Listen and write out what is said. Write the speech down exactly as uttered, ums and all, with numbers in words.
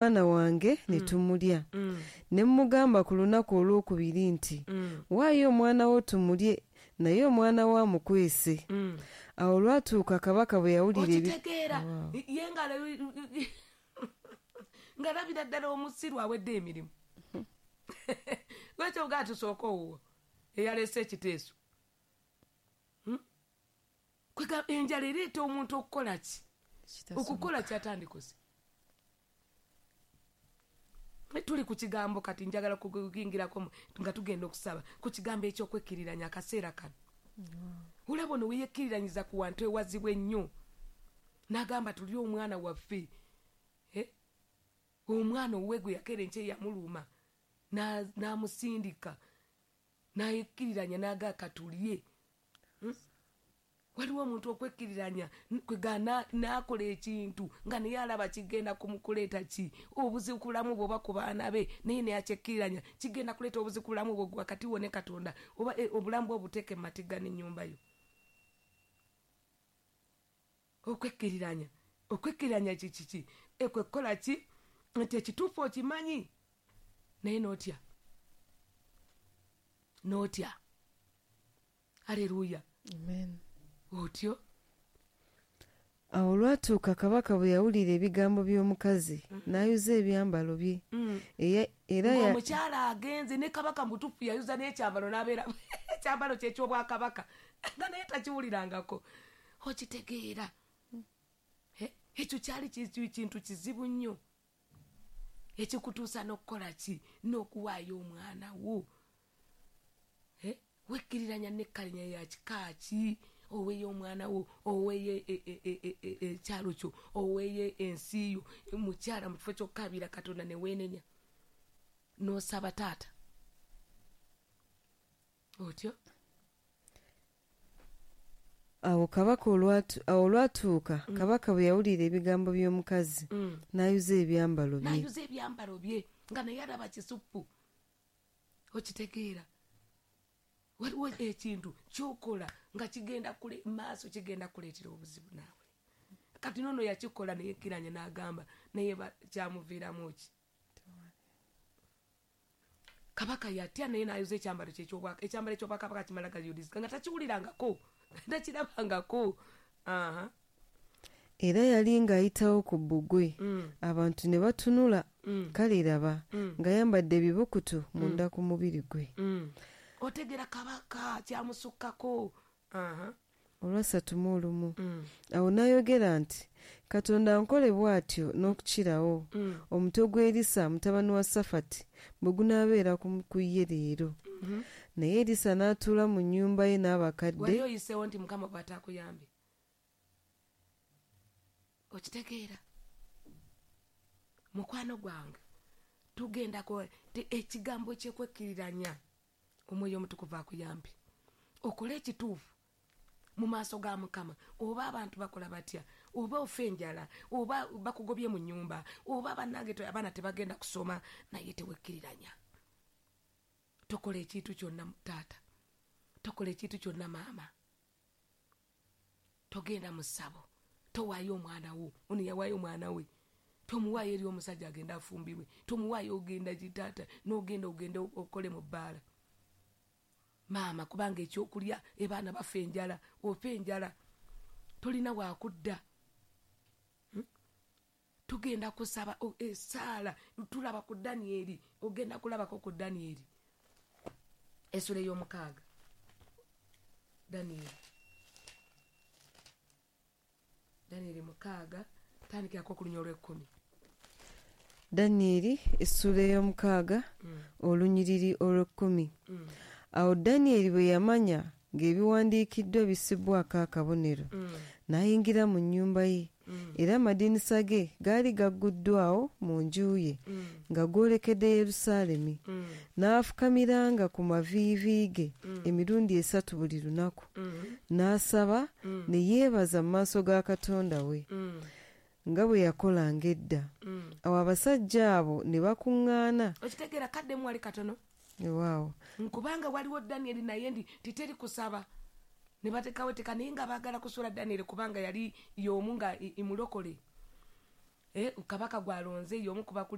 Omwana wange ne tumulya. Ne mmugamba ku lunaku olwokubiri nti, "Waayo omwana wo tumulye," naye omwana wo amukwese. Awo olwatuuka kabaka bwe yawulira ebi Okitegeera? Ye nga ng'alabira ddala omusiru awedde emirimu. Lwaki ogaa tusooka owuwo eyaleese ekiteeso? Hmm? Kwega enjala ereeta omuntu okukola ki? Okukola kyatandikose. Tuli ku kigambo kati njagala kuyingirako mu- nga tugenda okusaba ku kigambo eky'okwekkiriranya akaseera kano. Olaba ono weyekkiriranyiza ku wantu ewazibu ennyo, n'agamba tuli omwana waffe. Eh? Omwana owuwe gwe yakeera enkya yamuluma n'a- n'amusindika n'ayekkiriranya n'agaa katulye. Hmm? Waliwo omuntu okwekkiriranya kwega n'akola ekintu nga naye alaba kigenda kumukuleeta ki obuzibu ku bulamu bwe oba ku baana be, naye naye akyekkiriranya kigenda kuleeta obuzibu ku bulamu bwe wakati wo ne Katonda oba eh, obulamu bwe obuteeke mu matigga n'ennyumba yo. Okwekkiriranya, okwekkiriranya kikiki? Ekwe kukola ki nti ekituufu okimanyi naye n'otya, n'otya. Aleluya. Amen. Otyo. Awo olwatuuka kabaka bwe yawulira ebigambo by'omukazi, n'ayuza ebyambalo bye. Eya- era ya- Ng'omukyala agenze ne kabaka mutuufu yayuza n'ekyambalo n'abeera ekyambalo kye ekyobwakabaka nga naye takiwulirangako. Okitegeera? Eh, ekyo kyali ki- kintu kizibu nnyo ekikutuusa n'okukola ki? N'okuwaayo omwana wo. Eh, wekkiriranya nekkalinya ya kika ki? Oweeyo omwana wo, oweeyo e- e- e- e- e- ekyalo kyo, oweeyo ensi yo. Mukyala, mu kifo ky'okukaabira Katonda ne weenenya n'osaba taata otyo. Awo kabaka olwatu- awo olwatuuka kabaka bwe yawulira ebigambo by'omukazi, n'ayuza ebyambalo bye. N'ayuza ebyambalo bye nga naye alaba kisupu. Okitegeera? Waliwo ekintu kyokola nga kigenda kule maaso, kigenda kuleetera obuzibu naawe. Kati nono yakikola neyekkiranya n'agamba naye ba- kyamuviiramu ki? Kabaka yatya naye n'ayuza ekyambalo kye ekyobwa- ekyambalo ekyobwakabaka kimala gayulizika nga takiwulirangako, takirabangako. Aha. Era yali ng'ayitawo ku bbugwe, Mm. abantu ne batunula, Mm. kale raba Mm. ng'ayambadde ebibukutu munda ku mubiri gwe. Mm. Otegeera? Kabaka kyamusukkako. Aha. Olwasatu mu olumu. Mm. Awo n'ayogera nti, "Katonda ankole bw'atyo n'okukirawo, Mm. omutwe gw'Erisa mutabani wa Safati bwe gunaabeera ku ku ye leero." Mhm. Naye Erisa n'atuula mu nnyumba ye Wali n'abakadde. Oyiseewo nti Mukama bw'ataakuyambe. Okitegeera, mukwano gwange? Tugenda ko te- ekigambo kyekwekkiriranya, Omwoyo Omutukuvu akuyambe okole ekituufu mu maaso ga Mukama, oba abantu bakola batya, oba ofa enjala, oba bakugobye mu nnyumba, oba bannange te- abaana tebagenda kusoma, naye tewekkiriranya. Tokola ekintu kyonna taata, tokola ekintu kyonna maama, togenda mu ssabo, towaayo omwana wo. Ono yawaayo omwana we, tomuwaayo eri omusajja agenda afumbirwe, tomuwaayo ogenda gitaata n'ogenda ogenda okole mu bbaala, maama, kubanga ekyokulya ebaana bafa enjala, ofa enjala, tolina wakudda. Hmm? Tugenda kusaba o- esaala. Tulaba ku Danyeri, ogenda kulabako ku Danyeri essula ey'omukaaga. Danyeri, Danyeri mukaaga, tandikirako ku lunya olw'ekkumi. Danyeri essuula ey'omukaaga, Mm, olunyiriri olw'ekkumi. mm, Awo Danyeri bwe yamanya ng'ebiwandiikiddwa bissibwako akabonero, mm, n'ayingira mu nnyumba ye, mm, era amadinisa ge gaali gagguddwawo mu nju ye mm, nga goolekedde Yerusaalemi, mm, n'afukamiranga ku maviivi ge Mm. emirundi esatu buli lunaku, mm, n'asaba mm, ne yeebaza mu maaso ga Katonda we mm, nga bwe yakolanga edda. mm. Awo abasajja abo ne bakuŋŋaana. Okitegeera? Kaddemu wali katono. Ewaawo. Kubanga waliwo Danyeri naye ndi titeri kusaba ne batekawo etteka, naye nga baagala kusuula Danyeri kubanga yali y'omu nga i- imulokole. Eh, kabaka gwalonze y'omu ku